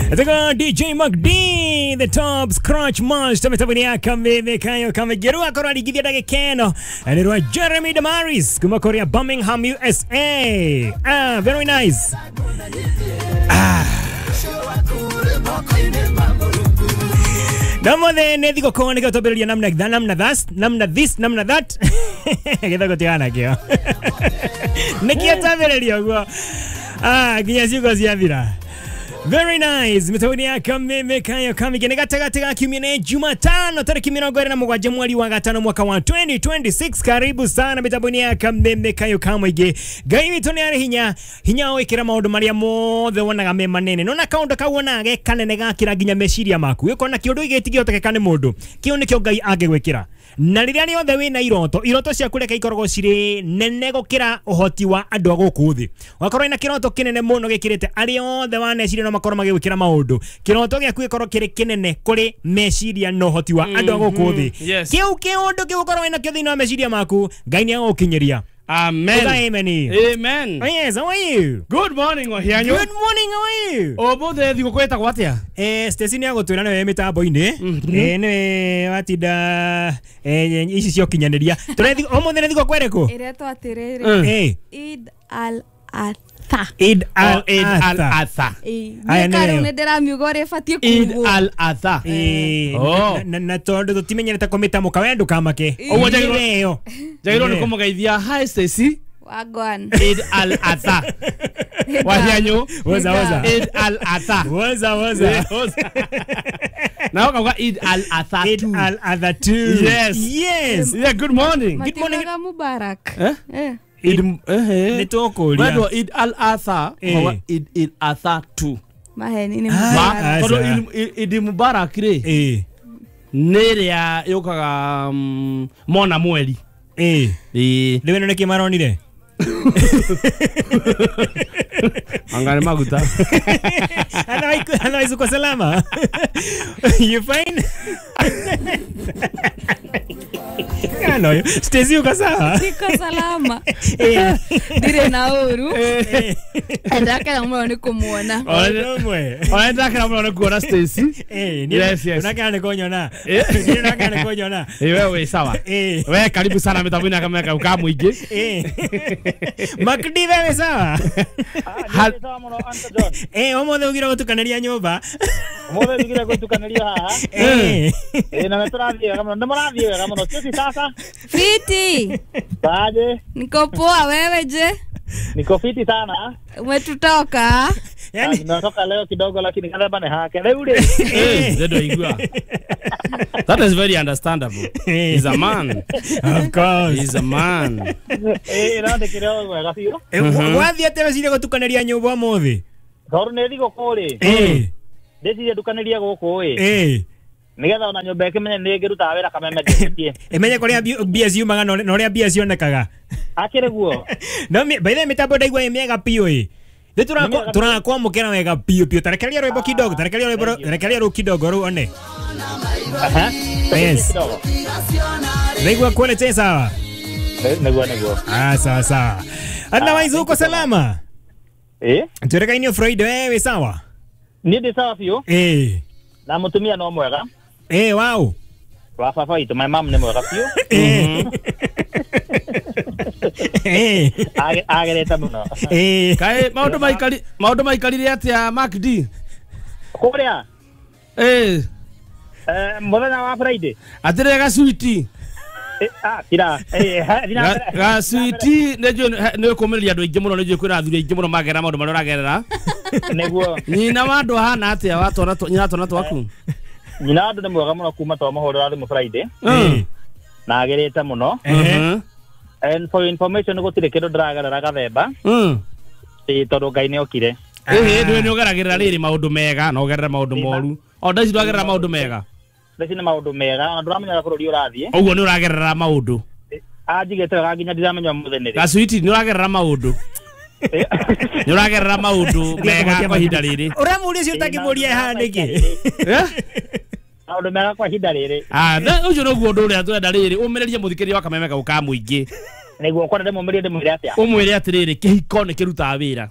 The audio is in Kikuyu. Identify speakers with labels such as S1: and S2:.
S1: Nataka DJ MacD the top scratch master mitambo ya kameme kayo kamegerua korwa rigithia ndagika ĩno nĩ rwa Jeremy Damaris kuma kũrĩa Birmingham USA. Ah, very nice. Ah. Namothe nĩ thigũkũ nĩkĩo twambĩrĩria namna namna that namna this namna that gĩthũngũ tigana kĩo nĩkĩo twambĩrĩria ũguo. Ah, nginya ciugo ciathira. Very nice. Mitambo ya kameme kayo kamige gatagatĩ ga kiumia nĩ Jumatano tariki 27 mweri wa gatano mwaka wa 2026. Karibu sana mitambo ya kameme kayo kamwige. Ngai witũ nĩ arĩ hinya hinya wĩkĩra maũndũ marĩa mothe wonaga me manene. Nona kaũndũ kau wonaga ge kanene gakĩra nginya meciria maku. Ũkona kĩũndũ gĩtingĩhotekeka nĩ mũndũ. Kĩu nĩkĩo Ngai angĩgwĩkĩra. Na rĩrĩa rĩothe wĩna iroto, iroto ciaku reke ikoragwo cirĩ nene gũkĩra ũhoti wa andũ a gũkũ thĩ. Wakorwo wĩna kĩroto kĩnene mũno gĩkĩrĩte arĩa othe waneciria no makorwo magĩgwĩkĩra maũndũ. Kĩroto gĩaku gĩkorwo kĩrĩ kĩnene kũrĩ meciria na ũhoti wa andũ a gũkũ thĩ. Kĩu kĩũndũ kĩu ũkorwo wĩna kĩo thĩinĩ wa meciria maku, Ngai nĩ agũgũkinyĩria.
S2: Amen.
S1: Amen.
S2: Amen.
S1: Oh, yes, how are you?
S2: Good morning, Wahianyu.
S1: Good morning, how are you?
S2: Ũmũthĩ thigũkũ ĩtagwo atĩa?
S1: Stacy nĩ agũtwĩra nĩwe mĩtambo-inĩ. Nĩwe watinda ici cia ũkinyanĩria. Ũmũthĩ nĩ thigũkũ ĩrĩkũ?
S3: Ĩretwo atĩrĩrĩ. Eid al-Adha.
S1: Eid al-Adha.
S3: Aya nĩ nĩ ndĩramiuga ũrĩa ĩbatiĩ
S2: Eid
S3: kuugwo.
S2: al-Adha.
S1: Na tondũ tũtimenyerete kũmĩtamũka we ndũkamake.
S2: Ũguo
S1: njagĩrĩirwo
S2: nĩ kũmũgeithia. Hi Stacy.
S3: Wagwan.
S2: Eid al-Adha. Wahianyu.
S1: Woza woza.
S2: Eid al-Adha.
S1: Woza woza.
S2: Na ũkauga Eid al-Adha.
S1: Eid al-Adha 2.
S2: Yes.
S1: Yes.
S2: Yeah, good morning.
S1: Good morning.
S3: Mubarak.
S2: Eh? Eid
S1: nĩ tũkũria.
S2: Wendwo Eid al-Adha, ũkauga Eid al-Adha 2.
S3: Maheni nĩ Mubarak.
S2: Tondũ Eid Mubarak rĩ. Nĩ ĩrĩa yũkaga mona mweri.
S1: Rĩu ĩno nĩkĩ maronire?
S2: Anga nĩ maguta.
S1: Otherwise uko salama? You fine? Ano, Stacy uko sawa?
S3: Niko salama. Ndirĩ na ũru. Ndakena mũno nĩ kũmuona.
S2: Ona ndakena mũno nĩ kuona Stacy. Yes, yes.
S1: Unakena nĩ kũnyona. Unakena nĩ kũnyona.
S2: Wewe wĩ sawa. We karibu sana mitambo-inĩ ya kameme kau ka mũingĩ.
S1: Makdi wewe sawa? Ũmũthĩ ũgire gũtukanĩria nyũmba.
S4: Ũmũthĩ njugire gũtukanĩria haha. Na nĩ tũrathiĩ wega mũno. Nĩ mũrathiĩ wega mũno. Sisi sasa.
S3: Fiti.
S4: Baje.
S3: Niko poa, wewe je?
S4: Niko fiti sana.
S3: Umetutoka?
S4: Yani nimetoka leo kidogo lakini kadha ni hake. Leo ule.
S2: Ndio igua. That is very understandable. He's a man.
S1: Of course.
S2: He's a man.
S4: No ndikire wega biũ.
S1: Wathiĩ atĩa weciria gũtukanĩria nyũmba ũmũthĩ?
S4: Tondũ nĩ thigũkũ rĩ. Ndĩciria ndukanĩrie gũkũ ĩ. Nĩgetha ona nyũmba ĩkĩmenye nĩ ĩngĩrutaga wĩra kameme ndĩtie.
S1: Ĩmenye kũrĩa mbia ciumaga na ũrĩa mbia cionekaga.
S4: Akĩrĩ guo.
S1: No by the way mĩtambo ndaigua ĩ mĩega biũ ĩ. Nĩ tũrakwamũkĩra wega biũ biũ. Tarekereria rwĩmbo kidogo, tarekereria rwĩmbo, rekereria rũu kidogo rũu one. Yes. Ndaigua quality sawa.
S4: Nĩguo nĩguo.
S1: Ah, sawa sawa. Otherwise uko salama? Tuereka Friday wewe sawa?
S4: Niĩ ndĩ sawa biũ. Na mũtumia no mwega.
S1: Wow.
S4: Wa baba witũ, my mom nĩ mwega biũ. Agerete mũno.
S2: Kaĩ maũndũ maikarire atĩa MacD?
S4: Kũrĩa? Mũthenya wa Friday.
S2: Atĩrĩ gacuiti.
S4: Kira.
S2: Gacuiti nĩ ũkũmĩrĩria andũ aingĩ mũno, nĩ njũĩ kwĩna athuri aingĩ mũno magerera maũndũ marĩa ũragerera.
S4: Nĩguo.
S2: Nyina wa andũ ahana atĩa wa twana nyina wa twana twaku?
S4: Nyina wa andũ nĩ mwega mũno kuma twamũhũrĩra thimũ Friday. Na agĩrĩte mũno. And for information gũtirĩ kĩndũ ndĩragerera gathemba. Tondũ Ngai nĩ okire.
S2: Ndũĩ nĩ ũgeragĩrĩra rĩrĩ maũndũ mega na ũgerera maũndũ moru. O ndaici ndũragerera maũndũ mega.
S4: Ndaici nĩ maũndũ mega, ona ndũramenyaga bũrũri ũrathiĩ.
S2: Ũguo nĩ ũragerera maũndũ.
S4: Anjigĩte wega nginya ndiramenya ũmũthĩ nĩ rĩ.
S2: Gacuiti nĩ ũragerera maũndũ. Nĩ ũragerera maũndũ mega kwa ihinda rĩrĩ.
S1: Ũramũria ũcio ũtangĩmũria haha nĩkĩ?
S4: Maũndũ mega kwa ihinda rĩrĩ.
S2: Ũcio nĩguo ũndũ ũrĩa tũrenda rĩrĩ, ũmĩrĩrie mũthikĩrĩria wa kameme kau ka mũingĩ.
S4: Nĩguo kwenda ndĩmũmĩrie ndĩmwĩre atĩa?
S2: Ũmwĩre atĩrĩrĩ, kĩhiko nĩ kĩrutaga wĩra.